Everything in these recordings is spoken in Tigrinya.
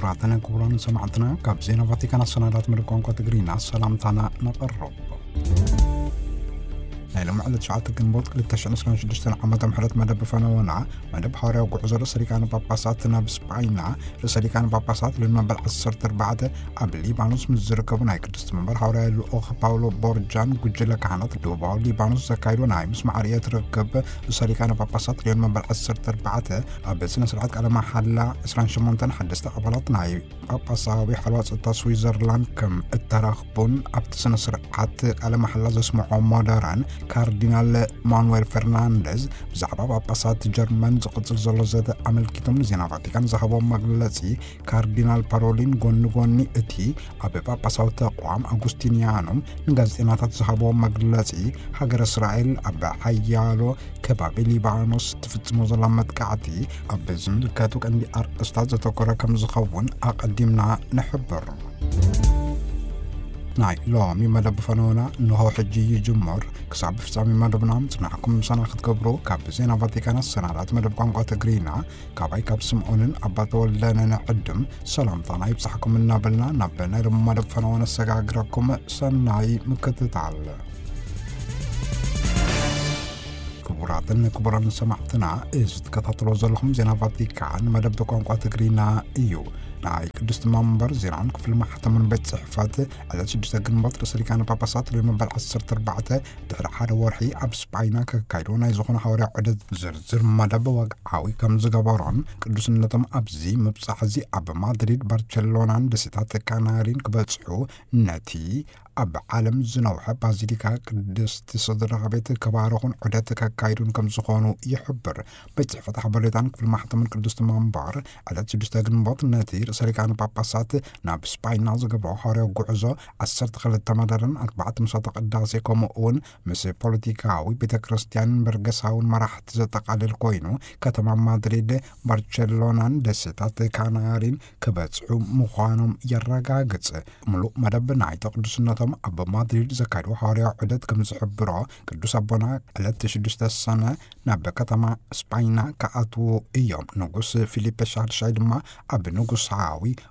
ክቡራትን ክቡራን ሰማዕትና፣ ካብ ዜና ቫቲካን ኣሰናዳት መደብ ቋንቋ ትግርኛ ሰላምታና ነቐርብ። ናይ ሎሚ ዕለት ትሽዓተ ግንቦት ክልተ ሽሕን ዕስራን ሽዱሽተን ዓመተ ምሕረት መደብ ፈነወና፣ መደብ ሃዋርያዊ ጉዕዞ ርእሰ ሊቃነ ጳጳሳት ናብ ስጳይና፣ ርእሰ ሊቃነ ጳጳሳት ልኡል መበል ዓሰርተ ኣርባዕተ ኣብ ሊባኖስ ምስ ዝርከቡ ናይ ቅድስቲ መንበር ሃዋርያዊ ልኡኽ ፓውሎ ቦርጃን ጉጅለ ካህናት ደቡባዊ ሊባኖስ ዘካይዶ ናይ ምስማዕ ርእየት ርክብ፣ ርእሰ ሊቃነ ጳጳሳት ልኡል መበል ዓሰርተ ኣርባዕተ ኣብ ስነ ስርዓት ቃለ መሓላ ዕስራን ሸሞንተን ሓደስቲ ኣባላት ናይ ጳጳሳዊ ሓልዋ ጸጥታ ስዊዘርላንድ ከም እተረኽቡን ኣብቲ ስነ ስርዓት ቃለ መሓላ ዘስምዖ ሞደራን ካርዲናል ማኑኤል ፈርናንደዝ ብዛዕባ ጳጳሳት ጀርመን ዝቕጽል ዘሎ ዘተ ኣመልኪቶም ንዜና ቫቲካን ዝሃቦም መግለጺ፣ ካርዲናል ፓሮሊን ጎኒ ጎኒ እቲ ኣብ ጳጳሳዊ ተቋም ኣጉስቲንያኖም ንጋዜጠኛታት ዝሃቦ መግለጺ፣ ሃገር እስራኤል ኣብ ሓያሎ ከባቢ ሊባኖስ ትፍጽሞ ዘላ መጥቃዕቲ ኣብ ዝምልከቱ ቀንዲ ኣርእስታት ዘተኮረ ከም ዝኸውን ኣቐዲምና ንሕብር። ናይ ሎሚ መደብ ፈነወና እንሆ ሕጂ ይጅምር። ክሳብ ፍጻሜ መደብና ምጽናሕኩም ምሳና ክትገብሩ ካብ ዜና ቫቲካን ኣሰናዳት መደብ ቋንቋ ትግርኛ፣ ካባይ ካብ ስምዖንን ኣባ ተወልደን ንዕድም ሰላምታና ይብጻሕኩም እናበልና፣ ናብ ናይ ሎሚ መደብ ፈነወ ነሰጋግረኩም። ሰናይ ምክትታል። ክቡራትን ክቡራን ሰማዕትና፣ እዚ ትከታተሎ ዘለኹም ዜና ቫቲካን መደብ ቋንቋ ትግርኛ እዩ። ናይ ቅድስቲ መንበር ዜናን ክፍሊ ማሕተምን ቤት ጽሕፈት ዕለት ሽዱሽተ ግንቦት ርእሰ ሊቃነ ጳጳሳት ልኡል መበል ዓሰርተ ኣርባዕተ ድሕሪ ሓደ ወርሒ ኣብ ስጳይና ከካይዶ ናይ ዝኾነ ሃዋርያ ዑደት ዝርዝር መደብ ወግዓዊ ከም ዝገበሮን፣ ቅዱስነቶም ኣብዚ ምብጻሕ እዚ ኣብ ማድሪድ፣ ባርቸሎናን ደሴታት ካናሪን ክበጽሑ፣ ነቲ ኣብ ዓለም ዝነውሐ ባዚሊካ ቅድስቲ ስድራ ቤት ከባረኹን ዑደት ከካይዱን ከም ዝኾኑ ይሕብር። ቤት ጽሕፈት ሓበሬታን ክፍሊ ማሕተምን ቅድስቲ መንበር ዕለት ሽዱሽተ ግንቦት ነቲ ርእሰ ሊቃነ ጳጳሳት ናብ ስጳይና ዝገብሮ ሃዋርያዊ ጉዕዞ ዓሰርተ ክልተ መደርን ኣርባዕተ ምሳተ ቅዳሴ፣ ከምኡ እውን ምስ ፖለቲካዊ፣ ቤተ ክርስቲያንን በርገሳውን መራሕቲ ዘጠቓልል ኮይኑ፣ ከተማ ማድሪድ፣ ባርቸሎናን ደሴታት ካናሪን ክበጽሑ ምዃኖም የረጋግጽ። ምሉእ መደብ ናይቲ ቅዱስነቶም ኣብ ማድሪድ ዘካይድዎ ሃዋርያዊ ዑደት ከም ዝሕብሮ፣ ቅዱስ ኣቦና ዕለት ሽዱሽተ ሰነ ናብ ከተማ ስጳይና ክኣትዉ እዮም። ንጉስ ፊሊፐ ሻድሻይ ድማ ኣብ ንጉሳዊ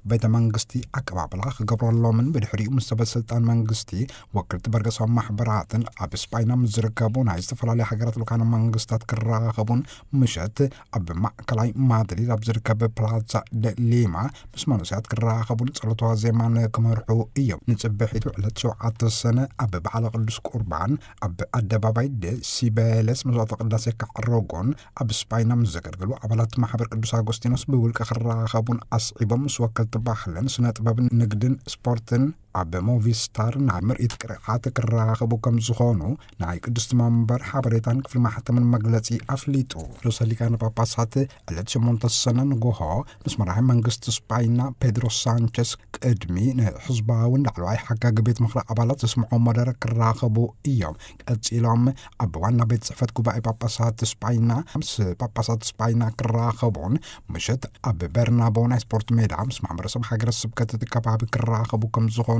ቤተ መንግስቲ ኣቀባብላ ክገብረሎምን፣ ብድሕሪኡ ምስ ሰበ ስልጣን መንግስቲ፣ ወክልቲ በርገሳዊ ማሕበራትን ኣብ ስጳይና ምስ ዝርከቡ ናይ ዝተፈላለዩ ሃገራት ልኡካነ መንግስታት ክራኸቡን፣ ምሸት ኣብ ማእከላይ ማድሪድ ኣብ ዝርከብ ፕላዛ ደ ሊማ ምስ መንእሰያት ክራኸቡን ጸሎተ ዋዜማን ክመርሑ እዮም። ንጽብሒቱ ዕለት ሸውዓተ ሰነ ኣብ በዓለ ቅዱስ ቁርባን ኣብ ኣደባባይ ደ ሲበለስ መስዋዕተ ቅዳሴ ከዕረጉን፣ ኣብ ስጳይና ምስ ዘገልግሉ ኣባላት ማሕበር ቅዱስ ኣጎስቲኖስ ብውልቂ ክራኸቡን ኣስዒቦም ምስ ወከልቲ ባህልን ስነ ጥበብን ንግድን ስፖርትን ኣብ ሞቪስታር ናይ ምርኢት ቅርዓት ክራኸቡ ከም ዝኾኑ ናይ ቅድስቲ መንበር ሓበሬታን ክፍሊ ማሕተምን መግለጺ ኣፍሊጡ። ርእሰ ሊቃነ ጳጳሳት ዕለት ሸሞንተ ሰነ ንጎሆ ምስ መራሒ መንግስቲ ስጳይና ፔድሮ ሳንቸስ ቅድሚ ንሕዝባውን ላዕለዋይ ሓጋጊ ቤት ምኽሪ ኣባላት ዘስምዖ መደረ ክራኸቡ እዮም። ቀጺሎም ኣብ ዋና ቤት ጽሕፈት ጉባኤ ጳጳሳት ስጳይና ምስ ጳጳሳት ስጳይና ክራኸቡን፣ ምሸት ኣብ በርናቦ ናይ ስፖርት ሜዳ ምስ ማሕበረሰብ ሃገረ ስብከት እቲ ከባቢ ክራኸቡ ከም ዝኾኑ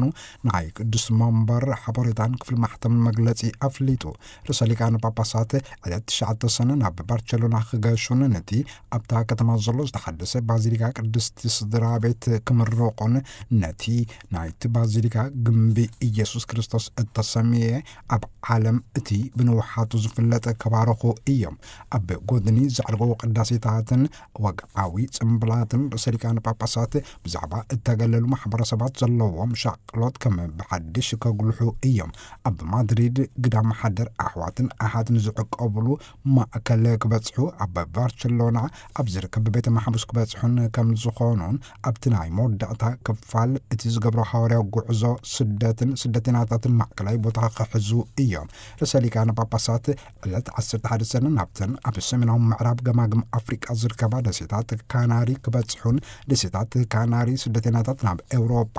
ናይ ቅዱስ መንበር ሓበሬታን ክፍሊ ማሕተምን መግለጺ ኣፍሊጡ። ርእሰ ሊቃነ ጳጳሳት ዕለት ትሽዓተ ሰነ ናብ ባርቸሎና ክገሹን፣ ነቲ ኣብታ ከተማ ዘሎ ዝተሓደሰ ባዚሊካ ቅድስቲ ስድራ ቤት ክምርቑን፣ ነቲ ናይቲ ባዚሊካ ግምቢ ኢየሱስ ክርስቶስ እተሰምየ ኣብ ዓለም እቲ ብንውሓቱ ዝፍለጥ ከባረኹ እዮም። ኣብ ጎድኒ ዘዕርገዎ ቅዳሴታትን ወግዓዊ ጽምብላትን ርእሰ ሊቃነ ጳጳሳት ብዛዕባ እተገለሉ ማሕበረሰባት ዘለዎም ሻቅሎት ከም ብሓድሽ ከጉልሑ እዮም። ኣብ ማድሪድ ግዳም ሓደር ኣሕዋትን ኣሓትን ዝዕቀብሉ ማእከል ክበጽሑ፣ ኣብ ባርቸሎና ኣብ ዝርከብ ቤተ ማሕቡስ ክበጽሑን ከም ዝኾኑን፣ ኣብቲ ናይ መወዳእታ ክፋል እቲ ዝገብሮ ሃዋርያዊ ጉዕዞ ስደትን ስደተኛታትን ማእከላይ ቦታ ክሕዙ እዮም። ርእሰ ሊቃነ ጳጳሳት ዕለት ዓሰርተ ሓደ ሰነ ናብተን ኣብ ሰሜናዊ ምዕራብ ገማግም ኣፍሪቃ ዝርከባ ደሴታት ካናሪ ክበጽሑን፣ ደሴታት ካናሪ ስደተኛታት ናብ ኤውሮጳ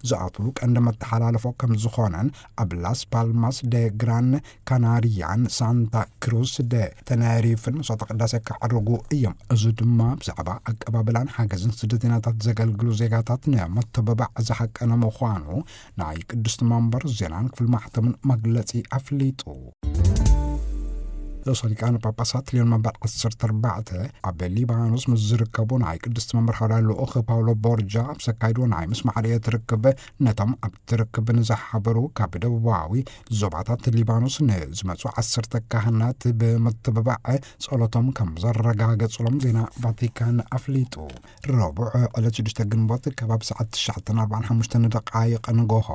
ዝኣትሉ ቀንዲ መተሓላለፎ ከም ዝኾነን፣ ኣብ ላስ ፓልማስ ደ ግራን ካናሪያን ሳንታ ክሩስ ደ ተነሪፍን መስዋዕተ ቅዳሴ ከዕርጉ እዮም። እዚ ድማ ብዛዕባ ኣቀባብላን ሓገዝን ስደተኛታት ዘገልግሉ ዜጋታት ንመተባባዕ ዝሓቀነ ምዃኑ ናይ ቅድስቲ መንበር ዜናን ክፍሊ ማሕተምን መግለጺ ኣፍሊጡ። ርእሰ ሊቃነ ጳጳሳት ሊዮን መበል ዓሰርተ ኣርባዕተ ኣብ ሊባኖስ ምስ ዝርከቡ ናይ ቅድስቲ መንበር ሓዋርያ ልኡኽ ፓውሎ ቦርጃ ኣብ ዘካይድዎ ናይ ምስማዕ ርእየት ርክብ፣ ነቶም ኣብቲ ርክብ ንዝሓበሩ ካብ ደቡባዊ ዞባታት ሊባኖስ ንዝመጹ ዓሰርተ ካህናት ብምትብባዕ ጸሎቶም ከም ዘረጋገጹሎም ዜና ቫቲካን ኣፍሊጡ። ረቡዕ ዕለት ሽዱሽተ ግንቦት ከባቢ ሰዓት ትሽዓተ ኣርባዓን ሓሙሽተ ደቃይቕ ንጎሆ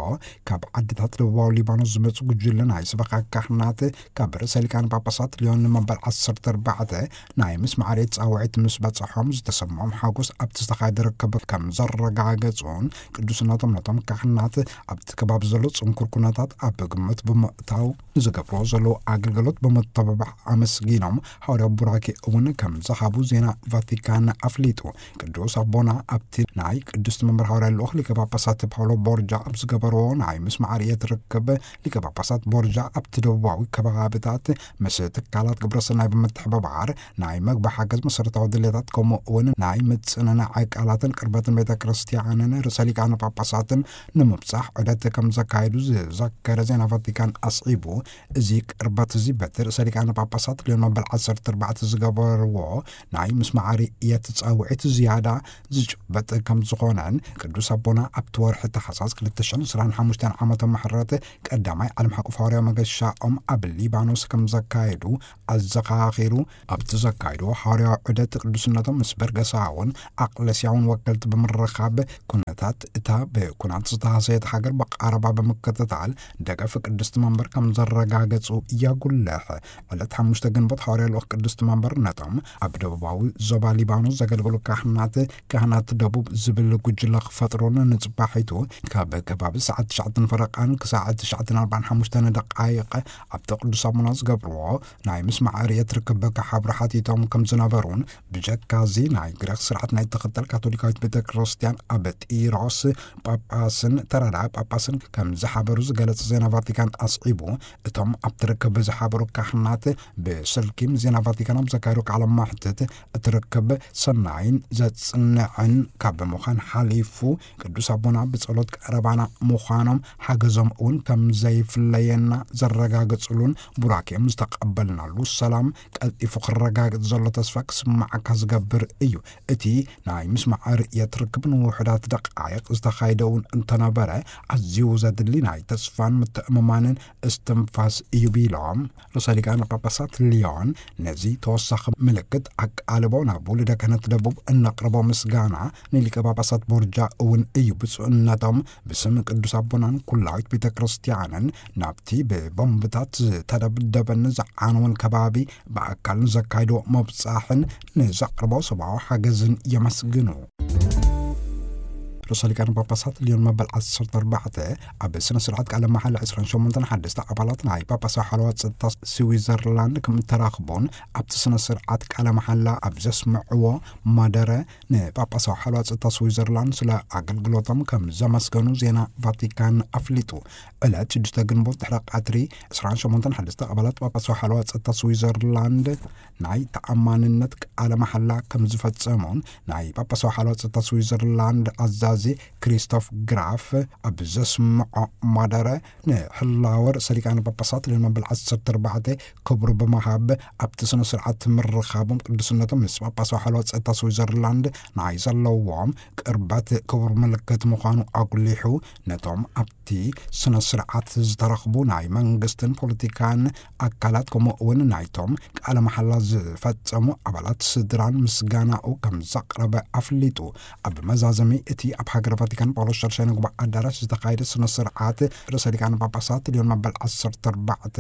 ካብ ዓድታት ደቡባዊ ሊባኖስ ዝመጹ ጉጅለ ናይ ስበኻ ካህናት ካብ ርእሰ ሊቃነ ጳጳሳት ሊዮን መበል ዓሰርተ ኣርባዕተ ናይ ምስማዕ ርእየት ጻውዒት ምስ በጽሖም ዝተሰምዖም ሓጎስ ኣብቲ ዝተኻየደ ርክብ ከም ዘረጋገጹን ቅዱስነቶም ነቶም ካህናት ኣብቲ ከባቢ ዘሎ ጽንኩር ኩነታት ኣብ ግምት ብምእታው ንዝገብርዎ ዘለዉ ኣገልግሎት ብምትብባዕ ኣመስጊኖም፣ ሓዋርያዊ ቡራኬ እውን ከም ዝሃቡ ዜና ቫቲካን ኣፍሊጡ። ቅዱስ ኣቦና ኣብቲ ናይ ቅድስቲ መንበር ሓዋርያ ልኡኽ ሊቀ ጳጳሳት ፓውሎ ቦርጃ ኣብ ዝገበርዎ ናይ ምስማዕ ርእየት ርክብ፣ ሊቀ ጳጳሳት ቦርጃ ኣብቲ ደቡባዊ ከባብታት ምስ ትካላት ግብረሰናይ ብምትሕብባር ናይ መግቢ ሓገዝ፣ መሰረታዊ ድሌታት፣ ከምኡ እውን ናይ ምጽንናዕ ቃላትን ቅርበትን ቤተ ክርስቲያንን ርእሰ ሊቃነ ጳጳሳትን ንምብጻሕ ዑደት ከም ዘካየዱ ዝዘከረ ዜና ቫቲካን ኣስዒቡ፣ እዚ ቅርበት እዚ በቲ ርእሰ ሊቃነ ጳጳሳት ሊዮን መበል ዓሰርተ ኣርባዕተ ዝገበርዎ ናይ ምስማዕ ርእየት ጻውዒት ዝያዳ ዝጭበጥ ከም ዝኾነን፣ ቅዱስ ኣቦና ኣብቲ ወርሒ ታሕሳስ ክልተ ሽሕን ዕስራን ሓሙሽተን ዓመተ ምሕረት ቀዳማይ ዓለም ሓቆፍ ሓዋርያዊ መገሻኦም ኣብ ሊባኖስ ከም ዘካየዱ ኣዘኻኺሩ፣ ኣብቲ ዘካየድዎ ሓዋርያዊ ዑደት ቅዱስነቶም ምስ በርገሳውን ኣቅለስያውን ወከልቲ ብምርኻብ፣ ኩነታት እታ ብኩናት ዝተሃሰየት ሃገር ብቐረባ ብምክትታል፣ ደገፍ ቅድስቲ መንበር ከም ዘረጋገጹ የጉልሕ። ዕለት ሓሙሽተ ግንቦት ሓዋርያ ልኡኽ ቅድስቲ መንበር ነቶም ኣብ ደቡባዊ ዞባ ሊባኖስ ዘገልግሉ ካህናት፣ ካህናት ደቡብ ዝብል ጉጅለ ክፈጥሩን ንጽባሒቱ ካብ ከባቢ ሰዓት ትሽዓተ ፈረቓን ክሳዕ ትሽዓተ ኣርባዓን ሓሙሽተ ደቃይቕ ኣብቲ ቅዱስ ኣቦና ዝገብርዎ ናይ ምስማዕ ርእየት ርክብ ክሓብሩ ሓቲቶም ከም ዝነበሩን፣ ብጀካ እዚ ናይ ግሪኽ ስርዓት ናይ ትኽተል ካቶሊካዊት ቤተ ክርስቲያን ኣብ ጢሮስ ጳጳስን ተረዳ ጳጳስን ከም ዝሓበሩ ዝገለጸ ዜና ቫቲካን ኣስዒቡ፣ እቶም ኣብቲ ርክብ ዝሓበሩ ካህናት ብስልኪ ምስ ዜና ቫቲካን ኣብ ዘካየዱ ቃለ መሕትት፣ እቲ ርክብ ሰናይን ዘጽንዕን ካብ ምዃን ሓሊፉ፣ ቅዱስ ኣቦና ብጸሎት ቀረባና ምዃኖም ሓገዞም እውን ከም ዘይፍለየና ዘረጋገጽሉን ቡራኬኦም ዝተቐበልናሉ ሰላም ቀልጢፉ ክረጋገጽ ዘሎ ተስፋ ክስማዓካ ዝገብር እዩ። እቲ ናይ ምስማዕ ርእየት ርክብ ንውሑዳት ደቃይቕ ዝተኻየደ እውን እንተነበረ፣ ኣዝዩ ዘድሊ ናይ ተስፋን ምትእምማንን እስትንፋስ እዩ ቢሎም፣ ርእሰ ሊቃነ ጳጳሳት ሊዮን ነዚ ተወሳኺ ምልክት ኣቃልቦ ናብ ውሉደ ክህነት ደቡብ እነቕርቦ ምስጋና ንሊቀ ጳጳሳት ቦርጃ እውን እዩ። ብፁዕነቶም ብስም ቅዱስ ኣቦናን ኩላዊት ቤተ ክርስቲያንን ናብቲ ብቦምብታት ዝተደብደበን ዝዓነወን ከባቢ ብኣካል ንዘካይድዎ መብጻሕን ንዘቕርቦ ሰብኣዊ ሓገዝን የመስግኑ። ርእሰ ሊቃነ ጳጳሳት ሊዮን መበል ዓሰርተ ኣርባዕተ ኣብ ስነ ስርዓት ቃለ መሓላ ዕስራን ሸሞንተን ሓደስተ ኣባላት ናይ ጳጳሳዊ ሓለዋ ጸጥታ ስዊዘርላንድ ከም እተራኽቡን ኣብቲ ስነ ስርዓት ቃለ መሓላ ኣብ ዘስምዕዎ መደረ ንጳጳሳዊ ሓለዋ ጸጥታ ስዊዘርላንድ ስለ ኣገልግሎቶም ከም ዘመስገኑ ዜና ቫቲካን ኣፍሊጡ። ዕለት ሽዱሽተ ግንቦት ድሕሪ ቀትሪ ዕስራን ሸሞንተን ሓደስተ ኣባላት ጳጳሳዊ ሓለዋ ጸጥታ ስዊዘርላንድ ናይ ተኣማንነት ቃለ መሓላ ከም ዝፈጸሙን ናይ ጳጳሳዊ ሓለዋ ጸጥታ ስዊዘርላንድ ኣዛዚ ክሪስቶፍ ግራፍ ኣብ ዘስምዖ መደረ፣ ንህላወ ርእሰ ሊቃነ ጳጳሳት ሊዮን መበል ዓሰርተ ኣርባዕተ ክብሩ ብምሃብ ኣብቲ ስነ ስርዓት ምርኻቦም ቅዱስነቶም ምስ ጳጳሳዊ ሓለዋ ጸጥታ ስዊዘርላንድ ናይ ዘለዎም ቅርበት ክቡር ምልክት ምዃኑ ኣጉሊሑ፣ ነቶም ኣብቲ ስነ ስርዓት ዝተረኽቡ ናይ መንግስትን ፖለቲካን ኣካላት፣ ከምኡ እውን ናይቶም ቃለ መሓላ ዝፈጸሙ ኣባላት ስድራን ምስጋናኡ ከም ዘቕረበ ኣፍሊጡ። ኣብ መዛዘሚ እቲ ኣብ ሃገረ ቫቲካን ጳውሎስ ሻድሻይ ንጉባኤ ኣዳራሽ ዝተኻየደ ስነ ስርዓት፣ ርእሰ ሊቃነ ጳጳሳት ሊዮን መበል ዓሰርተ ኣርባዕተ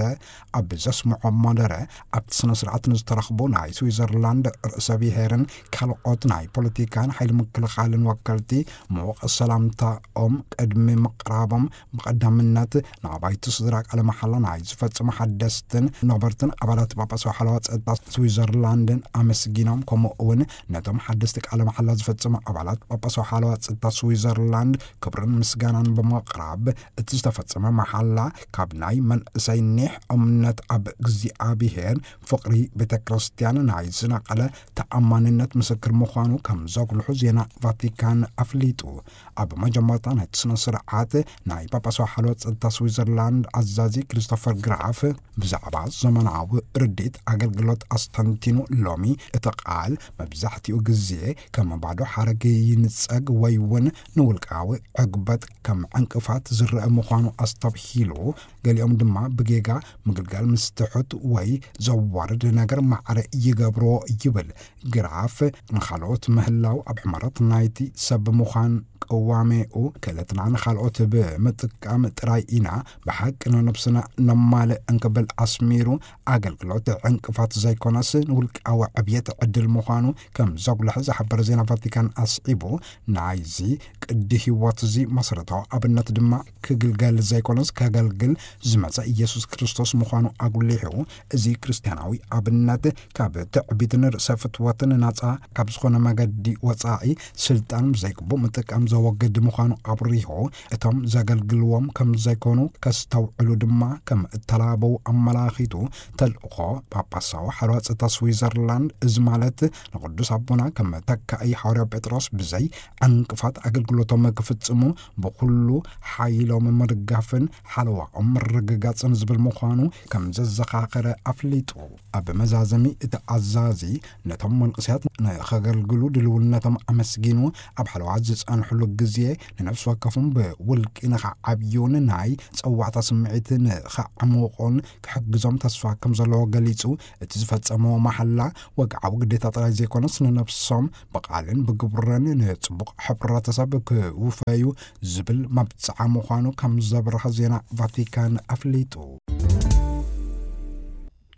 ኣብ ዘስምዖ መደረ፣ ኣብቲ ስነ ስርዓት ንዝተረኽቡ ናይ ስዊዘርላንድ ርእሰ ብሔርን ካልኦት ናይ ፖለቲካን ሓይሊ ምክልኻልን ወከልቲ ምዉቕ ሰላምታኦም ቅድሚ ምቕራቦም፣ ብቐዳምነት ንኣባይቲ ስድራ ቃለ መሓላ ናይ ዝፈጽሙ ሓደስትን ነበርትን ኣባላት ጳጳሳዊ ሓለዋ ጸጥታ ስዊዘርላንድን ኣመስጊኖም፣ ከምኡ እውን ነቶም ሓደስቲ ቃለ መሓላ ዝፈጽሙ ኣባላት ጳጳሳዊ ሓለዋ ጸጥታ ስዊዘርላንድ ክብርን ምስጋናን ብምቕራብ፣ እቲ ዝተፈጸመ መሓላ ካብ ናይ መንእሰይ ኒሕ እምነት ኣብ እግዚኣብሔር፣ ፍቕሪ ቤተ ክርስቲያን ናይ ዝነቐለ ተኣማንነት ምስክር ምዃኑ ከም ዘጉልሑ ዜና ቫቲካን ኣፍሊጡ። ኣብ መጀመርታ ናይቲ ስነ ስርዓት ናይ ጳጳሳዊ ሓልዋ ጸጥታ ስዊዘርላንድ ኣዛዚ ክሪስቶፈር ግራፍ ብዛዕባ ዘመናዊ ርድኢት ኣገልግሎት ኣስተንቲኑ፣ ሎሚ እቲ ቃል መብዛሕትኡ ግዜ ከም ባዶ ሓረግ ይንጸግ ወይ እውን ንውልቃዊ ዕግበት ከም ዕንቅፋት ዝረአ ምዃኑ ኣስተብሂሉ፣ ገሊኦም ድማ ብጌጋ ምግልጋል ምስ ትሑት ወይ ዘዋርድ ነገር ማዕረ ይገብርዎ ይብል። ግራፍ ንኻልኦት ምህላው ኣብ ሕመረት ናይቲ ሰብ ምዃን ቅዋሜኡ፣ ክእለትና ንኻልኦት ብምጥቃም ጥራይ ኢና ብሓቂ ንነብስና ነማልእ እንክብል ኣስሚሩ፣ ኣገልግሎት ዕንቅፋት ዘይኮነስ ንውልቃዊ ዕብየት ዕድል ምዃኑ ከም ዘጉልሐ ዝሓበረ ዜና ቫቲካን ኣስዒቡ፣ ናይዚ ቅዲ ህይወት እዚ መሰረታዊ ኣብነት ድማ ክግልገል ዘይኮነስ ከገልግል ዝመጸ ኢየሱስ ክርስቶስ ምዃኑ ኣጉሊሑ፣ እዚ ክርስትያናዊ ኣብነት ካብ ትዕቢትን ርእሰ ፍትወትን ናጻ ካብ ዝኾነ መገዲ ወጻኢ ስልጣን ብዘይግቡእ ምጥቃም ዘወግድ ምዃኑ ኣብሪሁ፣ እቶም ዘገልግልዎም ከም ዘይኮኑ ከስተውዕሉ ድማ ከም እተላበው ኣመላኺቱ፣ ተልእኾ ጳጳሳዊ ሓርዋ ጸጥታ ስዊዘርላንድ፣ እዚ ማለት ንቅዱስ ኣቦና ከም ተካኢ ሓዋርያ ጴጥሮስ ብዘይ ዕንቅፋት ኣገልግሎቶም ክፍጽሙ ብኩሉ ሓይሎም ምድጋፍን ሓለዋኦም ምርግጋጽን ዝብል ምዃኑ ከም ዘዘኻኸረ ኣፍሊጡ። ኣብ መዛዘሚ እቲ ኣዛዚ ነቶም መንእሰያት ንኸገልግሉ ድልውነቶም ኣመስጊኑ፣ ኣብ ሓለዋ ዝጸንሕሉ ግዜ ንነፍሲ ወከፎም ብውልቂ ንኸዓብዩን ናይ ጸዋዕታ ስምዒት ንኸዕምቑን ክሕግዞም ተስፋ ከም ዘለዎ ገሊጹ፣ እቲ ዝፈጸምዎ ማሕላ ወግዓዊ ግዴታ ጥራይ ዘይኮነስ ንነፍሶም ብቓልን ብግብርን ንጽቡቕ ሕብረተሰብ ክውፈዩ ዝብል መብጽዓ ምዃኑ ከም ዘብርሀ ዜና ቫቲካን ኣፍሊጡ።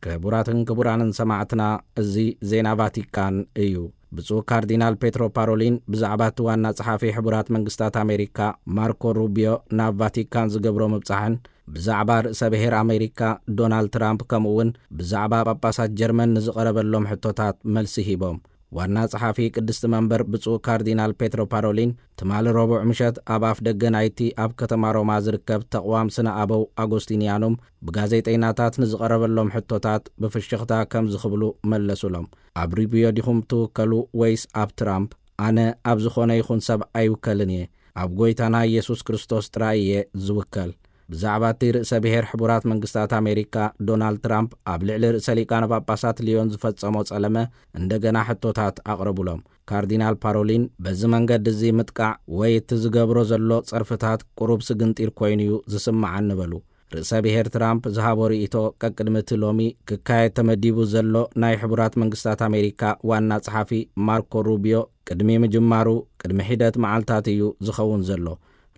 ክቡራትን ክቡራንን ሰማዕትና፣ እዚ ዜና ቫቲካን እዩ። ብፁዕ ካርዲናል ፔትሮ ፓሮሊን ብዛዕባ እቲ ዋና ጸሓፊ ሕቡራት መንግስታት ኣሜሪካ ማርኮ ሩቢዮ ናብ ቫቲካን ዝገብሮ ምብጻሕን ብዛዕባ ርእሰ ብሔር ኣሜሪካ ዶናልድ ትራምፕ ከምኡ እውን ብዛዕባ ጳጳሳት ጀርመን ንዝቐረበሎም ሕቶታት መልሲ ሂቦም። ዋና ጸሓፊ ቅድስቲ መንበር ብፁዕ ካርዲናል ፔትሮ ፓሮሊን ትማሊ ረቡዕ ምሸት ኣብ ኣፍ ደገ ናይቲ ኣብ ከተማ ሮማ ዝርከብ ተቕዋም ስነ ኣበው ኣጎስቲንያኑም ብጋዜጠይናታት ንዝቐረበሎም ሕቶታት ብፍሽኽታ ከምዚ ክብሉ መለሱሎም። ኣብ ሩቢዮ ዲኹም ትውከሉ ወይስ ኣብ ትራምፕ? ኣነ ኣብ ዝኾነ ይኹን ሰብ ኣይውከልን እየ። ኣብ ጎይታና ኢየሱስ ክርስቶስ ጥራይ እየ ዝውከል። ብዛዕባ እቲ ርእሰ ብሔር ሕቡራት መንግስታት ኣሜሪካ ዶናልድ ትራምፕ ኣብ ልዕሊ ርእሰ ሊቃነ ጳጳሳት ሊዮን ዝፈጸሞ ጸለመ እንደገና ሕቶታት ኣቕረቡሎም። ካርዲናል ፓሮሊን በዚ መንገዲ እዚ ምጥቃዕ ወይ እቲ ዝገብሮ ዘሎ ጸርፍታት ቁሩብ ስግንጢር ኮይኑ እዩ ዝስምዓኒ በሉ። ርእሰ ብሔር ትራምፕ ዝሃቦ ርእይቶ ቀቅድሚ እቲ ሎሚ ክካየድ ተመዲቡ ዘሎ ናይ ሕቡራት መንግስታት ኣሜሪካ ዋና ጸሓፊ ማርኮ ሩቢዮ ቅድሚ ምጅማሩ ቅድሚ ሒደት መዓልታት እዩ ዝኸውን ዘሎ።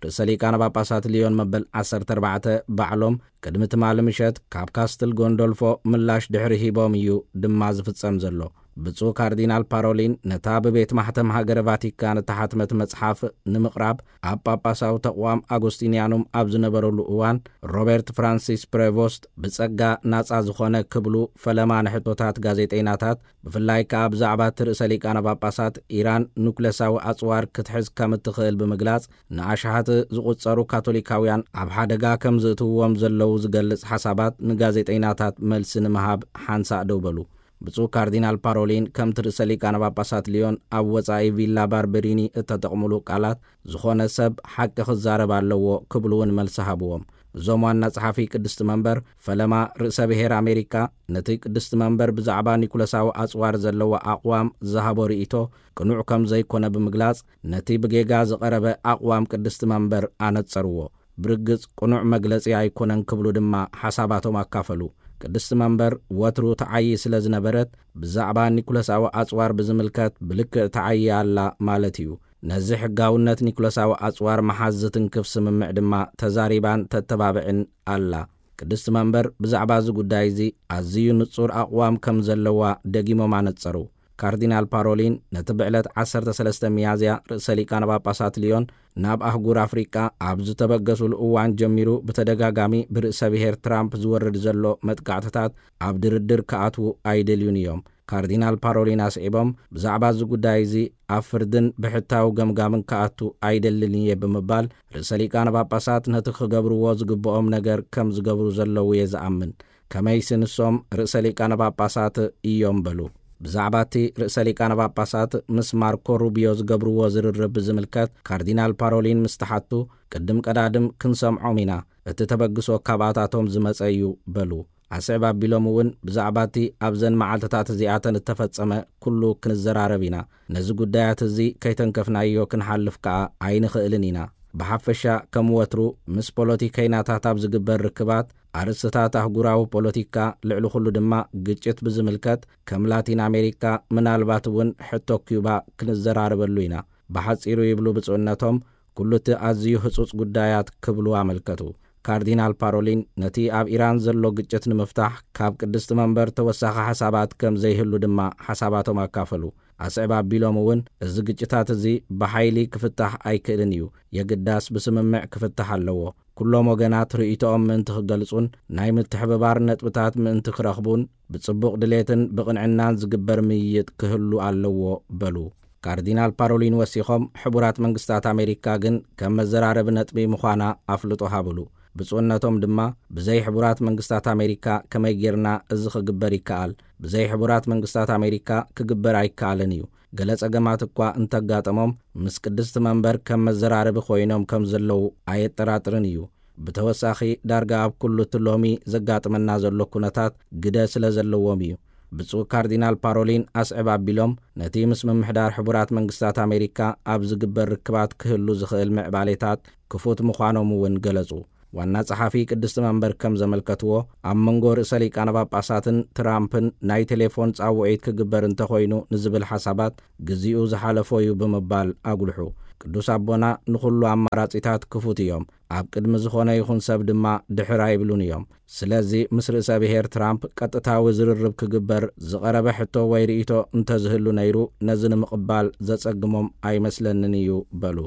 ርእሰ ሊቃነ ጳጳሳት ሊዮን መበል ዓሰርተ ኣርባዕተ ባዕሎም ቅድሚ ትማሊ ምሸት ካብ ካስትል ጎንዶልፎ ምላሽ ድሕሪ ሂቦም እዩ ድማ ዝፍጸም ዘሎ። ብፁዕ ካርዲናል ፓሮሊን ነታ ብቤት ማሕተም ሃገረ ቫቲካን እተሓትመት መጽሓፍ ንምቕራብ ኣብ ጳጳሳዊ ተቕዋም ኣጎስቲንያኑም ኣብ ዝነበረሉ እዋን፣ ሮበርት ፍራንሲስ ፕሬቮስት ብጸጋ ናጻ ዝኾነ ክብሉ ፈለማ ንሕቶታት ጋዜጠይናታት፣ ብፍላይ ከኣ ብዛዕባ እቲ ርእሰ ሊቃነ ጳጳሳት ኢራን ኑክለሳዊ ኣጽዋር ክትሕዝ ከም እትኽእል ብምግላጽ፣ ንኣሽሓት ዝቑጸሩ ካቶሊካውያን ኣብ ሓደጋ ከም ዝእትውዎም ዘለዉ ዝገልጽ ሓሳባት ንጋዜጠይናታት መልሲ ንምሃብ ሓንሳእ ደው በሉ። ብፁዕ ካርዲናል ፓሮሊን ከምቲ ርእሰ ሊቃነ ጳጳሳት ሊዮን ኣብ ወጻኢ ቪላ ባርበሪኒ እተጠቕሙሉ ቃላት፣ ዝኾነ ሰብ ሓቂ ክዛረብ ኣለዎ ክብሉ እውን መልሲ ሃብዎም። እዞም ዋና ጸሓፊ ቅድስቲ መንበር፣ ፈለማ ርእሰ ብሔር ኣሜሪካ ነቲ ቅድስቲ መንበር ብዛዕባ ኒኩለሳዊ ኣጽዋር ዘለዋ ኣቕዋም ዝሃቦ ርእይቶ ቅኑዕ ከም ዘይኮነ ብምግላጽ፣ ነቲ ብጌጋ ዝቐረበ ኣቕዋም ቅድስቲ መንበር ኣነጸርዎ። ብርግጽ ቅኑዕ መግለጺ ኣይኮነን ክብሉ ድማ ሓሳባቶም ኣካፈሉ። ቅድስቲ መንበር ወትሩ ተዓዪ ስለ ዝነበረት፣ ብዛዕባ ኒኩለሳዊ ኣጽዋር ብዝምልከት ብልክዕ ተዓዪ ኣላ ማለት እዩ። ነዚ ሕጋውነት ኒኩለሳዊ ኣጽዋር ምሓዝ ዝትንክፍ ስምምዕ ድማ ተዛሪባን ተተባብዕን ኣላ። ቅድስቲ መንበር ብዛዕባ እዚ ጉዳይ እዚ ኣዝዩ ንጹር ኣቕዋም ከም ዘለዋ ደጊሞም ኣነጸሩ። ካርዲናል ፓሮሊን ነቲ ብዕለት ዓሰርተ ሰለስተ ሚያዝያ ርእሰ ሊቃነ ጳጳሳት ሊዮን ናብ ኣህጉር ኣፍሪቃ ኣብ ዝተበገሱሉ እዋን ጀሚሩ ብተደጋጋሚ ብርእሰ ብሔር ትራምፕ ዝወርድ ዘሎ መጥቃዕትታት ኣብ ድርድር ክኣትዉ ኣይደልዩን እዮም። ካርዲናል ፓሮሊን ኣስዒቦም፣ ብዛዕባ እዚ ጉዳይ እዚ ኣብ ፍርድን ብሕታዊ ገምጋምን ክኣቱ ኣይደልን እየ ብምባል፣ ርእሰ ሊቃነ ጳጳሳት ነቲ ክገብርዎ ዝግብኦም ነገር ከም ዝገብሩ ዘለዉ እየ ዝኣምን። ከመይሲ ንሶም ርእሰ ሊቃነ ጳጳሳት እዮም በሉ። ብዛዕባ እቲ ርእሰ ሊቃነ ጳጳሳት ምስ ማርኮ ሩቢዮ ዝገብርዎ ዝርርብ ብዝምልከት ካርዲናል ፓሮሊን ምስ ተሓቱ፣ ቅድም ቀዳድም ክንሰምዖም ኢና፣ እቲ ተበግሶ ካብኣታቶም ዝመጸ እዩ በሉ። ኣስዕብ ኣቢሎም እውን ብዛዕባ እቲ ኣብዘን መዓልትታት እዚኣተን እተፈጸመ ኩሉ ክንዘራረብ ኢና። ነዚ ጉዳያት እዚ ከይተንከፍናዮ ክንሓልፍ ከኣ ኣይንኽእልን ኢና። ብሓፈሻ ከም ወትሩ ምስ ፖለቲከይናታት ኣብ ዝግበር ርክባት ኣርእስትታት ኣህጉራዊ ፖለቲካ፣ ልዕሊ ኩሉ ድማ ግጭት ብዝምልከት ከም ላቲን ኣሜሪካ፣ ምናልባት እውን ሕቶ ኪዩባ ክንዘራረበሉ ኢና። ብሓጺሩ ይብሉ ብፁዕነቶም፣ ኩሉ እቲ ኣዝዩ ህጹጽ ጉዳያት ክብሉ ኣመልከቱ። ካርዲናል ፓሮሊን ነቲ ኣብ ኢራን ዘሎ ግጭት ንምፍታሕ ካብ ቅድስቲ መንበር ተወሳኺ ሓሳባት ከም ዘይህሉ ድማ ሓሳባቶም ኣካፈሉ። ኣስዕብ ኣቢሎም እውን፣ እዚ ግጭታት እዚ ብሓይሊ ክፍታሕ ኣይክእልን እዩ፣ የግዳስ ብስምምዕ ክፍታሕ ኣለዎ። ኩሎም ወገናት ርእይቶኦም ምእንቲ ክገልጹን ናይ ምትሕብባር ነጥብታት ምእንቲ ክረኽቡን ብጽቡቕ ድሌትን ብቕንዕናን ዝግበር ምይይጥ ክህሉ ኣለዎ በሉ። ካርዲናል ፓሮሊን ወሲኾም፣ ሕቡራት መንግስታት ኣሜሪካ ግን ከም መዘራረቢ ነጥቢ ምዃና ኣፍልጦ ሃብሉ። ብፁዕነቶም ድማ፣ ብዘይ ሕቡራት መንግስታት ኣሜሪካ ከመይ ጌርና እዚ ክግበር ይከኣል? ብዘይ ሕቡራት መንግስታት ኣሜሪካ ክግበር ኣይከኣልን እዩ። ገለ ጸገማት እኳ እንተጋጠሞም፣ ምስ ቅድስቲ መንበር ከም መዘራረቢ ኮይኖም ከም ዘለዉ ኣየጠራጥርን እዩ። ብተወሳኺ፣ ዳርጋ ኣብ ኩሉ እቲ ሎሚ ዘጋጥመና ዘሎ ኩነታት ግደ ስለ ዘለዎም እዩ። ብፁዕ ካርዲናል ፓሮሊን ኣስዕብ ኣቢሎም፣ ነቲ ምስ ምምሕዳር ሕቡራት መንግስታት ኣሜሪካ ኣብ ዝግበር ርክባት ክህሉ ዝኽእል ምዕባሌታት ክፉት ምዃኖም እውን ገለጹ። ዋና ጸሓፊ ቅድስቲ መንበር ከም ዘመልከትዎ፣ ኣብ መንጎ ርእሰ ሊቃነ ጳጳሳትን ትራምፕን ናይ ቴሌፎን ጻውዒት ክግበር እንተኾይኑ ንዝብል ሓሳባት ግዜኡ ዝሓለፎ እዩ ብምባል ኣጉልሑ። ቅዱስ ኣቦና ንኹሉ ኣማራጺታት ክፉት እዮም፣ ኣብ ቅድሚ ዝኾነ ይኹን ሰብ ድማ ድሕር ኣይብሉን እዮም። ስለዚ ምስ ርእሰ ብሔር ትራምፕ ቀጥታዊ ዝርርብ ክግበር ዝቐረበ ሕቶ ወይ ርእይቶ እንተዝህሉ ነይሩ፣ ነዚ ንምቕባል ዘጸግሞም ኣይመስለንን እዩ በሉ።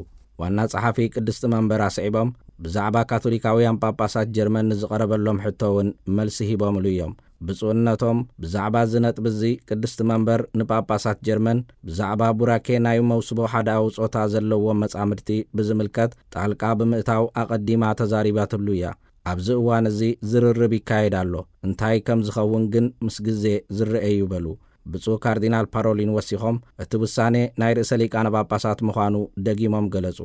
ዋና ጸሓፊ ቅድስቲ መንበር ኣስዒቦም፣ ብዛዕባ ካቶሊካውያን ጳጳሳት ጀርመን ንዝቐረበሎም ሕቶ እውን መልሲ ሂቦምሉ እዮም። ብፁዕነቶም፣ ብዛዕባ እዚ ነጥቢ እዚ ቅድስቲ መንበር ንጳጳሳት ጀርመን ብዛዕባ ቡራኬ ናይ መውስቦ ሓዳዊ ጾታ ዘለዎም መጻምድቲ ብዝምልከት ጣልቃ ብምእታው ኣቐዲማ ተዛሪባትሉ እያ። ኣብዚ እዋን እዚ ዝርርብ ይካየድ ኣሎ። እንታይ ከም ዝኸውን ግን ምስ ግዜ ዝረአ እዩ በሉ። ብፁዕ ካርዲናል ፓሮሊን ወሲኾም፣ እቲ ውሳኔ ናይ ርእሰ ሊቃነ ጳጳሳት ምዃኑ ደጊሞም ገለጹ።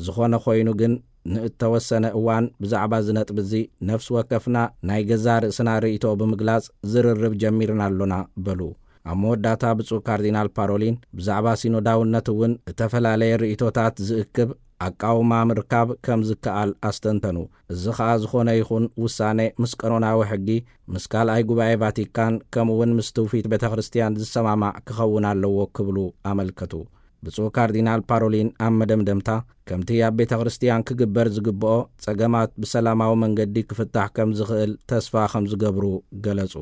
ዝኾነ ኮይኑ ግን፣ ንእተወሰነ እዋን ብዛዕባ እዚ ነጥቢ እዚ ነፍሲ ወከፍና ናይ ገዛእ ርእስና ርእይቶ ብምግላጽ ዝርርብ ጀሚርና ኣሎና በሉ። ኣብ መወዳእታ ብፁዕ ካርዲናል ፓሮሊን ብዛዕባ ሲኖዳውነት እውን እተፈላለየ ርእይቶታት ዝእክብ ኣቃውማ ምርካብ ከም ዝከኣል ኣስተንተኑ። እዚ ኸኣ ዝኾነ ይኹን ውሳኔ ምስ ቀኖናዊ ሕጊ፣ ምስ ካልኣይ ጉባኤ ቫቲካን፣ ከምኡውን ምስ ትውፊት ቤተ ክርስቲያን ዝሰማማዕ ክኸውን ኣለዎ ክብሉ ኣመልከቱ። ብፁዕ ካርዲናል ፓሮሊን ኣብ መደምደምታ፣ ከምቲ ኣብ ቤተ ክርስቲያን ክግበር ዝግብኦ፣ ጸገማት ብሰላማዊ መንገዲ ክፍታሕ ከም ዝኽእል ተስፋ ከም ዝገብሩ ገለጹ።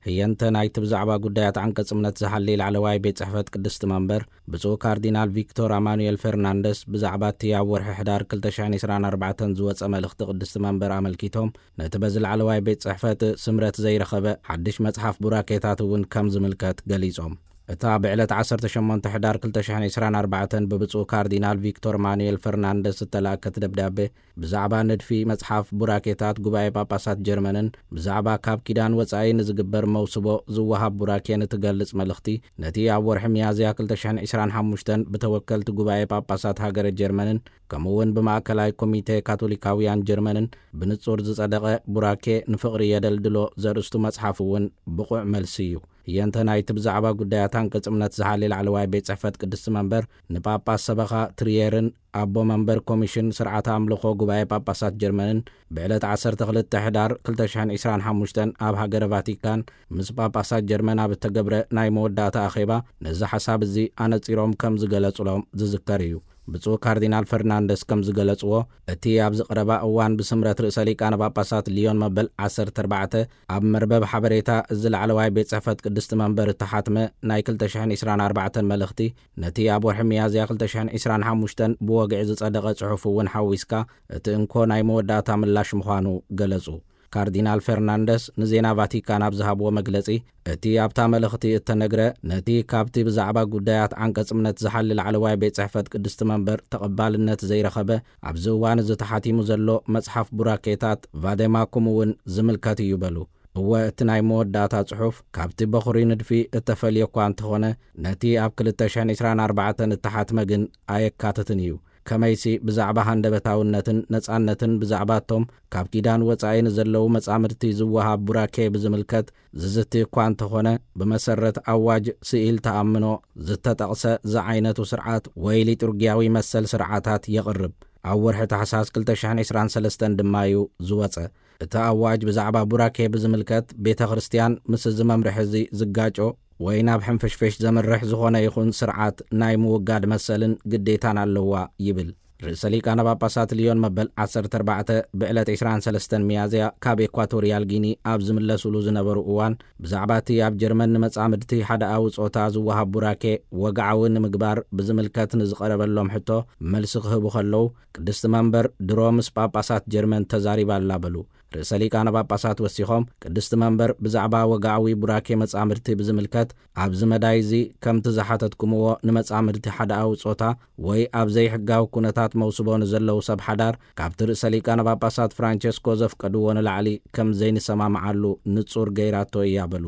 ህየንተ ናይቲ ብዛዕባ ጉዳያት ዓንቀጽ እምነት ዝሓሊ ላዕለዋይ ቤት ጽሕፈት ቅድስቲ መንበር፣ ብፁዕ ካርዲናል ቪክቶር ኣማኑኤል ፈርናንደስ ብዛዕባ እቲ ኣብ ወርሒ ሕዳር ክልተ ሽሕን ዕስራን ኣርባዕተን ዝወጸ መልእኽቲ ቅድስቲ መንበር ኣመልኪቶም፣ ነቲ በዚ ላዕለዋይ ቤት ጽሕፈት ስምረት ዘይረኸበ ሓድሽ መጽሓፍ ቡራኬታት እውን ከም ዝምልከት ገሊጾም። እታ ብዕለት ዓሰርተ ሸሞንተ ሕዳር ክልተ ሽሕን ዕስራን ኣርባዕተን ብብፁዕ ካርዲናል ቪክቶር ማኑኤል ፈርናንደስ እተላእከት ደብዳቤ፣ ብዛዕባ ንድፊ መጽሓፍ ቡራኬታት ጉባኤ ጳጳሳት ጀርመንን ብዛዕባ ካብ ኪዳን ወጻኢ ንዝግበር መውስቦ ዝወሃብ ቡራኬን እትገልጽ መልእኽቲ፣ ነቲ ኣብ ወርሒ ሚያዝያ ክልተ ሽሕን ዕስራን ሓሙሽተን ብተወከልቲ ጉባኤ ጳጳሳት ሃገረ ጀርመንን ከምኡውን ብማእከላይ ኮሚቴ ካቶሊካውያን ጀርመንን ብንጹር ዝጸደቐ ቡራኬ ንፍቕሪ የደልድሎ ዘርእስቱ መጽሓፍ እውን ብቑዕ መልሲ እዩ። ህየንተ ናይቲ ብዛዕባ ጉዳያት ዓንቀጽ እምነት ዝሓሊ ላዕለዋይ ቤት ጽሕፈት ቅድስቲ መንበር ንጳጳስ ሰበኻ ትሪየርን ኣቦ መንበር ኮሚሽን ስርዓተ ኣምልኾ ጉባኤ ጳጳሳት ጀርመንን ብዕለት ዓሰርተ ክልተ ሕዳር ክልተ ሽሕን ዕስራን ሓሙሽተን ኣብ ሃገረ ቫቲካን ምስ ጳጳሳት ጀርመን ኣብ እተገብረ ናይ መወዳእታ ኣኼባ ነዚ ሓሳብ እዚ ኣነጺሮም ከም ዝገለጹሎም ዝዝከር እዩ። ብፁዕ ካርዲናል ፈርናንደስ ከም ዝገለጽዎ፣ እቲ ኣብዚ ቀረባ እዋን ብስምረት ርእሰ ሊቃነ ጳጳሳት ሊዮን መበል ዓሰርተ ኣርባዕተ ኣብ መርበብ ሓበሬታ እዚ ላዕለዋይ ቤት ጽሕፈት ቅድስቲ መንበር እተሓትመ ናይ ክልተ ሽሕን ዕስራን ኣርባዕተን መልእኽቲ፣ ነቲ ኣብ ወርሒ ሚያዝያ ክልተ ሽሕን ዕስራን ሓሙሽተን ብወግዒ ዝጸደቐ ጽሑፍ እውን ሓዊስካ፣ እቲ እንኮ ናይ መወዳእታ ምላሽ ምዃኑ ገለጹ። ካርዲናል ፈርናንደስ ንዜና ቫቲካን ኣብ ዝሃብዎ መግለጺ፣ እቲ ኣብታ መልእኽቲ እተነግረ፣ ነቲ ካብቲ ብዛዕባ ጉዳያት ዓንቀጽ እምነት ዝሓሊ ላዕለዋይ ቤት ጽሕፈት ቅድስቲ መንበር ተቐባልነት ዘይረኸበ፣ ኣብዚ እዋን እዚ ተሓቲሙ ዘሎ መጽሓፍ ቡራኬታት ቫደማኩም እውን ዝምልከት እዩ በሉ። እወ፣ እቲ ናይ መወዳእታ ጽሑፍ ካብቲ በኹሪ ንድፊ እተፈልየ እኳ እንተኾነ፣ ነቲ ኣብ ክልተ ሽሕን ዕስራን ኣርባዕተን እተሓትመ ግን ኣየካትትን እዩ። ከመይሲ ብዛዕባ ሃንደበታውነትን ነጻነትን ብዛዕባ እቶም ካብ ኪዳን ወጻኢ ንዘለዉ መጻምድቲ ዝወሃብ ቡራኬ ብዝምልከት ዝዝቲ እኳ እንተኾነ፣ ብመሰረት ኣዋጅ ስኢል ተኣምኖ ዝተጠቕሰ ዝዓይነቱ ስርዓት ወይ ሊጡርጊያዊ መሰል ስርዓታት የቕርብ። ኣብ ወርሒ ታሕሳስ ክልተ ሽሕን ዕስራን ሰለስተን ድማ እዩ ዝወጸ። እቲ ኣዋጅ ብዛዕባ ቡራኬ ብዝምልከት ቤተ ክርስቲያን ምስ እዚ መምርሒ እዚ ዝጋጮ ወይ ናብ ሕንፍሽፍሽ ዘምርሕ ዝኾነ ይኹን ስርዓት ናይ ምውጋድ መሰልን ግዴታን ኣለዋ ይብል። ርእሰ ሊቃነ ጳጳሳት ልዮን መበል ዓሰርተ ኣርባዕተ ብዕለት ዕስራን ሰለስተን ሚያዝያ ካብ ኤኳቶርያል ጊኒ ኣብ ዝምለሱሉ ዝነበሩ እዋን፣ ብዛዕባ እቲ ኣብ ጀርመን ንመጻምድቲ ሓደኣዊ ጾታ ዝወሃብ ቡራኬ ወግዓዊ ንምግባር ብዝምልከት ንዝቐረበሎም ሕቶ መልሲ ክህቡ ከለዉ፣ ቅድስቲ መንበር ድሮ ምስ ጳጳሳት ጀርመን ተዛሪባ ኣላ በሉ። ርእሰ ሊቃነ ጳጳሳት ወሲኾም፣ ቅድስቲ መንበር ብዛዕባ ወግዓዊ ቡራኬ መጻምድቲ ብዝምልከት ኣብዚ መዳይ እዚ ከምቲ ዝሓተትኩምዎ ንመጻምድቲ ሓደኣዊ ጾታ ወይ ኣብ ዘይሕጋዊ ኩነታት መውስቦ ንዘለዉ ሰብ ሓዳር ካብቲ ርእሰ ሊቃነ ጳጳሳት ፍራንቸስኮ ዘፍቀድዎ ንላዕሊ ከም ዘይንሰማምዓሉ ንጹር ገይራቶ እያ በሉ።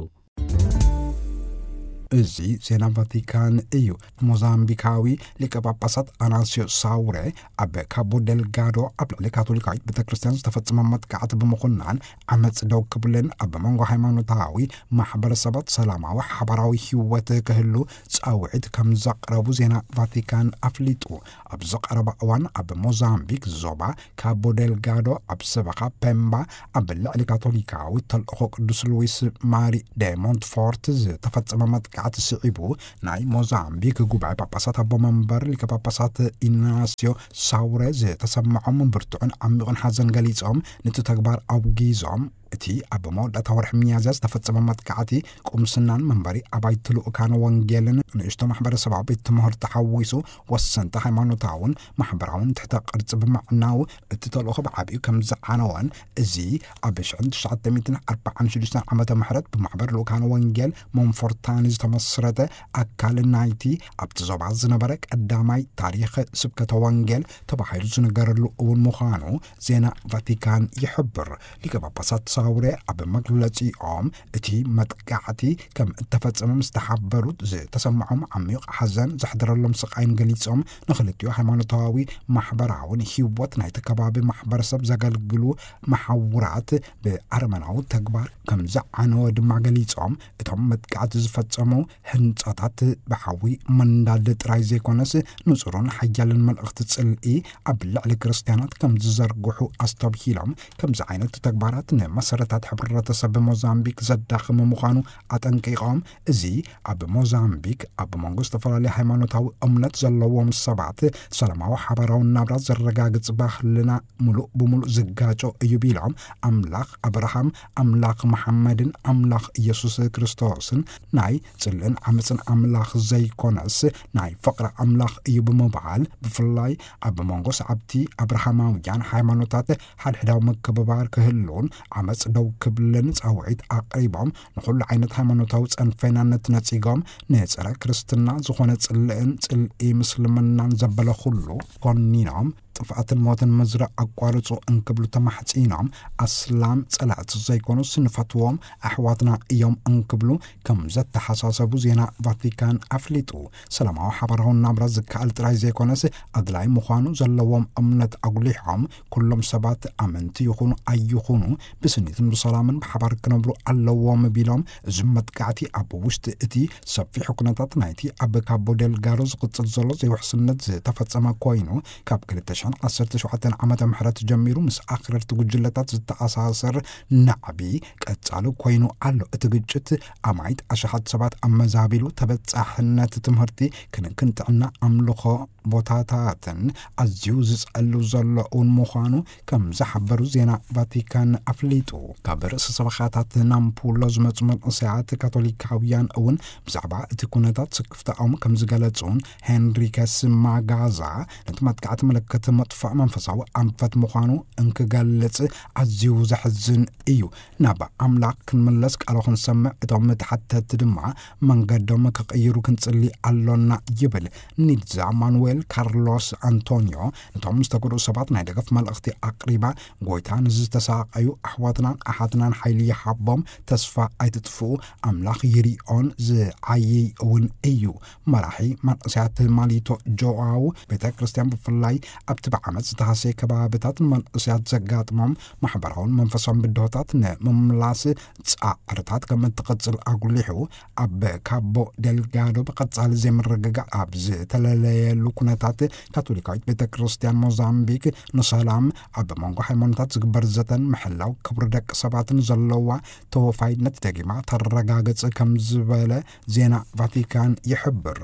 እዚ ዜና ቫቲካን እዩ። ሞዛምቢካዊ ሊቀ ጳጳሳት ኣናስዮ ሳውሬ ኣብ ካቦ ደልጋዶ ኣብ ልዕሊ ካቶሊካዊት ቤተ ክርስቲያን ዝተፈጸመ መጥቃዕቲ ብምኹናን ዓመጽ ደው ክብልን ኣብ መንጎ ሃይማኖታዊ ማሕበረሰባት ሰላማዊ ሓባራዊ ህይወት ክህሉ ጻውዒት ከም ዘቕረቡ ዜና ቫቲካን ኣፍሊጡ። ኣብዚ ቀረባ እዋን ኣብ ሞዛምቢክ ዞባ ካቦ ደልጋዶ ኣብ ሰበኻ ፔምባ ኣብ ልዕሊ ካቶሊካዊ ተልእኾ ቅዱስ ሉዊስ ማሪ ደ ሞንትፎርት ዝተፈጸመ መጥቃዕቲ ስዒቡ ናይ ሞዛምቢክ ጉባኤ ጳጳሳት ኣቦ መንበር ሊቀ ጳጳሳት ኢናስዮ ሳውሬ ዝተሰምዖም ብርቱዕን ዓሚቕን ሓዘን ገሊጾም፣ ነቲ ተግባር ኣውጊዞም። እቲ ኣብ መወዳእታ ወርሒ ሚያዝያ ዝተፈጸመ መጥቃዕቲ ቁምስናን መንበሪ ኣባይቲ ልኡካን ወንጌልን ንእሽቶ ማሕበረሰባዊ ቤት ትምህርቲ ሓዊሱ ወሰንቲ ሃይማኖታውን ማሕበራውን ትሕተ ቅርጺ ብምዕናው እቲ ተልእኾ ብዓቢኡ ከም ዝዓነወን፣ እዚ ኣብ ሽሕን ትሽዓተ ሚእትን ኣርባዓን ሽዱሽተን ዓመተ ምሕረት ብማሕበር ልኡካን ወንጌል ሞንፎርታኒ ዝተመስረተ ኣካል ናይቲ ኣብቲ ዞባ ዝነበረ ቀዳማይ ታሪኽ ስብከተ ወንጌል ተባሂሉ ዝንገረሉ እውን ምዃኑ ዜና ቫቲካን ይሕብር። ሊቀ ጳጳሳት ሳውሬ ኣብ መግለጺኦም፣ እቲ መጥቃዕቲ ከም እተፈጸመ ምስ ተሓበሩት ዝተሰምዖም ዓሚቕ ሓዘን ዘሕደረሎም ስቓይን ገሊጾም፣ ንኽልቲኡ ሃይማኖታዊ ማሕበራውን ህይወት ናይቲ ከባቢ ማሕበረሰብ ዘገልግሉ መሓውራት ብኣረመናዊ ተግባር ከም ዝዓነወ ድማ ገሊጾም፣ እቶም መጥቃዕቲ ዝፈጸሙ ህንጻታት ብሓዊ መንዳድ ጥራይ ዘይኮነስ፣ ንጹርን ሓያልን መልእኽቲ ጽልኢ ኣብ ልዕሊ ክርስትያናት ከም ዝዘርግሑ ኣስተብሂሎም፣ ከምዚ ዓይነት ተግባራት ንመሰረታት ሕብረተሰብ ሞዛምቢክ ዘዳኽም ምዃኑ ኣጠንቂቖም፣ እዚ ኣብ ሞዛምቢክ ኣብ መንጎ ዝተፈላለዩ ሃይማኖታዊ እምነት ዘለዎም ሰባት ሰላማዊ ሓባራዊ ናብራ ዘረጋግጽ ባህልና ምሉእ ብምሉእ ዝጋጮ እዩ ቢሎም፣ ኣምላኽ ኣብርሃም፣ ኣምላኽ መሓመድን ኣምላኽ ኢየሱስ ክርስቶስን ናይ ጽልእን ዓመጽን ኣምላኽ ዘይኮነስ ናይ ፍቕሪ ኣምላኽ እዩ ብምባል፣ ብፍላይ ኣብ መንጎ ሰዓብቲ ኣብርሃማውያን ሃይማኖታት ሓድሕዳዊ ምክብባር ክህሉን ዓመጽ ደው ክብልን ጻውዒት ኣቕሪቦም፣ ንኹሉ ዓይነት ሃይማኖታዊ ጸንፌናነት ነጺጎም፣ ንጸረ ክርስትና ዝኾነ ጽልእን ጽልኢ ምስልምናን ዘበለ ኩሉ ኮኒኖም፣ ጥፍኣትን ሞትን ምዝራእ ኣቋርጹ እንክብሉ ተማሕጺኖም፣ ኣስላም ጸላእቲ ዘይኮኑስ ንፈትዎም ኣሕዋትና እዮም እንክብሉ ከም ዘተሓሳሰቡ ዜና ቫቲካን ኣፍሊጡ። ሰላማዊ ሓባራዊ ናብራ ዝከኣል ጥራይ ዘይኮነስ፣ ኣድላይ ምዃኑ ዘለዎም እምነት ኣጉሊሖም፣ ኩሎም ሰባት ኣመንቲ ይኹኑ ኣይኹኑ ብስኒትን ብሰላምን ብሓባር ክነብሩ ኣለዎም ቢሎም፣ እዚ መጥቃዕቲ ኣብ ውሽጢ እቲ ሰፊሕ ኩነታት ናይቲ ኣብ ካቦ ደልጋዶ ዝቕጽል ዘሎ ዘይውሕስነት ዝተፈጸመ ኮይኑ፣ ካብ ክልተ ሽሕን ዓሰርተ ሸውዓተን ዓመተ ምሕረት ጀሚሩ ምስ ኣኽረርቲ ጉጅለታት ዝተኣሳሰር ናዕቢ ቀጻሊ ኮይኑ ኣሎ። እቲ ግጭት ኣማኢት ኣሽሓት ሰባት ኣመዛቢሉ፣ ተበጻሕነት ትምህርቲ፣ ክንክን ጥዕና፣ ኣምልኾ ቦታታትን ኣዝዩ ዝጸሉ ዘሎ እውን ምዃኑ ከም ዝሓበሩ ዜና ቫቲካን ኣፍሊጡ። ካብ ርእሰ ሰበኻታት ናምፑሎ ዝመጹ መንእሰያት ካቶሊካውያን እውን ብዛዕባ እቲ ኩነታት ስክፍታኦም ከም ዝገለጹን ሄንሪከስ ማጋዛ ነቲ መጥቃዕቲ ምልክት መጥፍዕ መንፈሳዊ ኣንፈት ምዃኑ እንክገልጽ ኣዝዩ ዘሕዝን እዩ። ናብ ኣምላኽ ክንምለስ ቃሉ ክንሰምዕ እቶም ተሓተቲ ድማ መንገዶም ክቕይሩ ክንጽሊ ኣሎና ይብል። ኒድዛ ማኑዌል ካርሎስ ኣንቶኒዮ ነቶም ዝተጎድኡ ሰባት ናይ ደገፍ መልእኽቲ ኣቕሪባ፣ ጎይታ ንዝተሳቐዩ ኣሕዋትናን ኣሓትናን ሓይሊ ይሃቦም፣ ተስፋ ኣይትጥፍኡ፣ ኣምላኽ ይሪኦን ዝዓይይ እውን እዩ። መራሒ መንእሰያት ማሊቶ ጆኣው ቤተ ክርስቲያን ብፍላይ ኣብቲ ብዓመት ዝተሃሰየ ከባብታት ንመንእሰያት ዘጋጥሞም ማሕበራውን መንፈሳውን ብድሆታት ንምምላስ ጻዕርታት ከም እትቕጽል ኣጉሊሑ፣ ኣብ ካቦ ደልጋዶ ብቐጻሊ ዘይምርግጋእ ኣብ ዝተለለየሉ ኩነታት ካቶሊካዊት ቤተ ክርስቲያን ሞዛምቢክ ንሰላም ኣብ መንጎ ሃይማኖታት ዝግበር ዘተን ምሕላው ክብሪ ደቂ ሰባትን ዘለዋ ተወፋይነት ደጊማ ተረጋግጽ ከም ዝበለ ዜና ቫቲካን ይሕብር።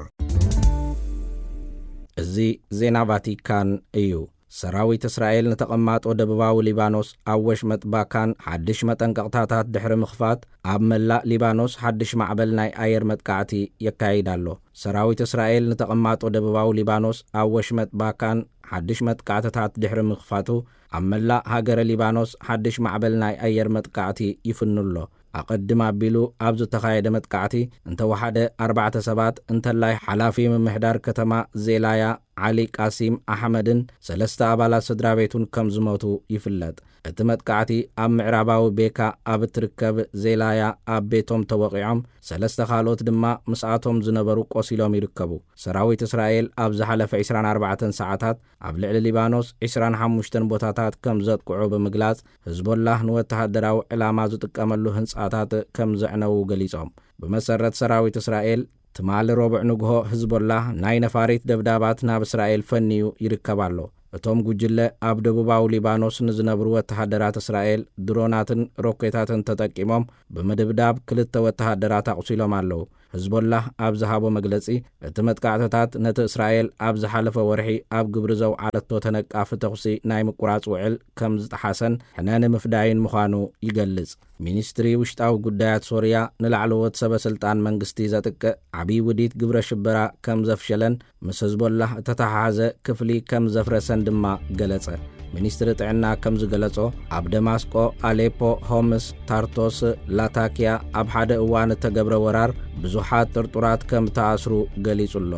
እዚ ዜና ቫቲካን እዩ። ሰራዊት እስራኤል ንተቐማጦ ደቡባዊ ሊባኖስ ኣብ ወሽመጥ ባካን ሓድሽ መጠንቀቕታታት ድሕሪ ምኽፋት፣ ኣብ መላእ ሊባኖስ ሓድሽ ማዕበል ናይ ኣየር መጥቃዕቲ የካይድ ኣሎ። ሰራዊት እስራኤል ንተቐማጦ ደቡባዊ ሊባኖስ ኣብ ወሽመጥ ባካን ሓድሽ መጥቃዕትታት ድሕሪ ምኽፋቱ፣ ኣብ መላእ ሃገረ ሊባኖስ ሓድሽ ማዕበል ናይ ኣየር መጥቃዕቲ ይፍኑ ኣሎ። ኣቐድም ኣቢሉ ኣብ ዝተኻየደ መጥቃዕቲ እንተወሓደ ኣርባዕተ ሰባት፣ እንተላይ ሓላፊ ምምሕዳር ከተማ ዜላያ ዓሊ ቃሲም ኣሕመድን ሰለስተ ኣባላት ስድራ ቤቱን ከም ዝሞቱ ይፍለጥ። እቲ መጥቃዕቲ ኣብ ምዕራባዊ ቤካ ኣብ እትርከብ ዜላያ ኣብ ቤቶም ተወቒዖም፣ ሰለስተ ካልኦት ድማ ምስኣቶም ዝነበሩ ቆሲሎም ይርከቡ። ሰራዊት እስራኤል ኣብ ዝሓለፈ ዕስራን ኣርባዕተን ሰዓታት ኣብ ልዕሊ ሊባኖስ ዕስራን ሓሙሽተን ቦታታት ከም ዘጥቅዑ ብምግላጽ፣ ህዝቦላህ ንወተሃደራዊ ዕላማ ዝጥቀመሉ ህንጻታት ከም ዘዕነዉ ገሊጾም። ብመሰረት ሰራዊት እስራኤል፣ ትማሊ ረቡዕ ንግሆ ህዝቦላህ ናይ ነፋሪት ደብዳባት ናብ እስራኤል ፈንዩ ይርከብ ኣሎ። እቶም ጉጅለ ኣብ ደቡባዊ ሊባኖስ ንዝነብሩ ወተሃደራት እስራኤል ድሮናትን ሮኬታትን ተጠቂሞም ብምድብዳብ ክልተ ወተሃደራት ኣቑሲሎም ኣለዉ። ህዝቦላህ ኣብ ዝሃቦ መግለጺ፣ እቲ መጥቃዕትታት ነቲ እስራኤል ኣብ ዝሓለፈ ወርሒ ኣብ ግብሪ ዘውዓለቶ ተነቃፊ ተኹሲ ናይ ምቁራጽ ውዕል ከም ዝጠሓሰን ሕነ ንምፍዳይን ምዃኑ ይገልጽ። ሚኒስትሪ ውሽጣዊ ጉዳያት ሶርያ ንላዕለዎት ሰበ ስልጣን መንግስቲ ዘጥቅዕ ዓብዪ ውዲት ግብረ ሽበራ ከም ዘፍሸለን ምስ ህዝቦላህ እተተሓሓዘ ክፍሊ ከም ዘፍረሰን ድማ ገለጸ። ሚኒስትሪ ጥዕና ከም ዝገለጾ፣ ኣብ ደማስቆ፣ ኣሌፖ፣ ሆምስ፣ ታርቶስ፣ ላታኪያ ኣብ ሓደ እዋን እተገብረ ወራር ብዙሓት ጥርጡራት ከም ተኣስሩ ገሊጹ ኣሎ።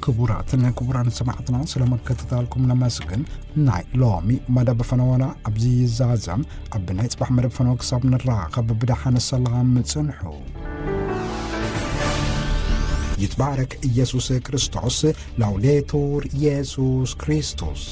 ክቡራትን ክቡራን ሰማዕትና፣ ስለ መከታተልኩም ነመስግን። ናይ ሎሚ መደብ ፈነወና ኣብዚ ይዛዘም። ኣብ ናይ ጽባሕ መደብ ፈነወ ክሳብ ንራኸብ ብደሓን ሰላም ጽንሑ። ይትባረክ ኢየሱስ ክርስቶስ። ላውዴቱር ኢየሱስ ክርስቶስ።